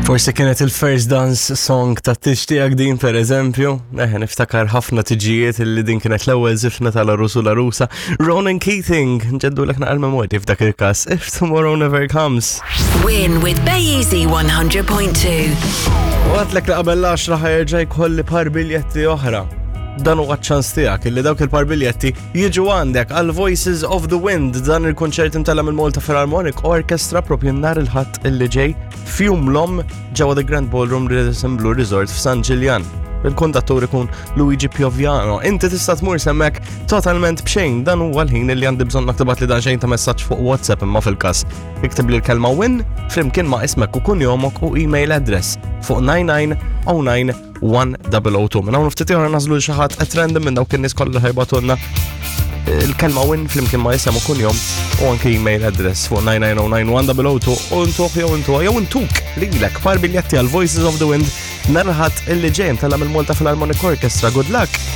Forsi kienet il-first dance song ta' tieġ tiegħek din per eżempju. Eħe, niftakar ħafna tiġijiet illi din kienet l-ewwel żifna tal-għarus u l-għarusa. Ronan Keating, nġeddu lek naqal memorji f'dak il-każ. If tomorrow never comes. Win with Bay Easy 100.2. U għedtlek li qabel l-10 ħa jerġa' jkolli par biljetti oħra. Dan huwa ċans tiegħek illi dawk il-par biljetti jiġu għandek għal Voices of the Wind dan il-konċert imtella mill-Malta Philharmonic Orchestra propju nhar il-Ħadd illi ġej f'Jum l-Omm ġewwa The Grand Ballroom Radisson Blu Resort f'San Ġiljan. Il-kondattur ikun Luigi Pioviano. Inti tista' tmur s'hemmhekk totalment b'xejn dan huwa l-ħin li għandi bżonn tibgħat li dan xejn ta' messaġġ fuq WhatsApp imma fil-każ. Iktib li l-kelma win flimkien ma' ismek u kunjomok u email address fuq 9909 1002. Minn hawn ftit ieħor nagħżlu xi ħadd at random minn dawk in-nies kollha ħa jibagħtulna il-kelma win flimkien ma' isem u kunjom u anke email address fuq 9909102 u ntuh jew intuha jew intuk lilek par biljetti għal Voices of the Wind nhar il-Ħadd illi ġej imtella mill-Malta Philharmonic Orchestra. Good luck!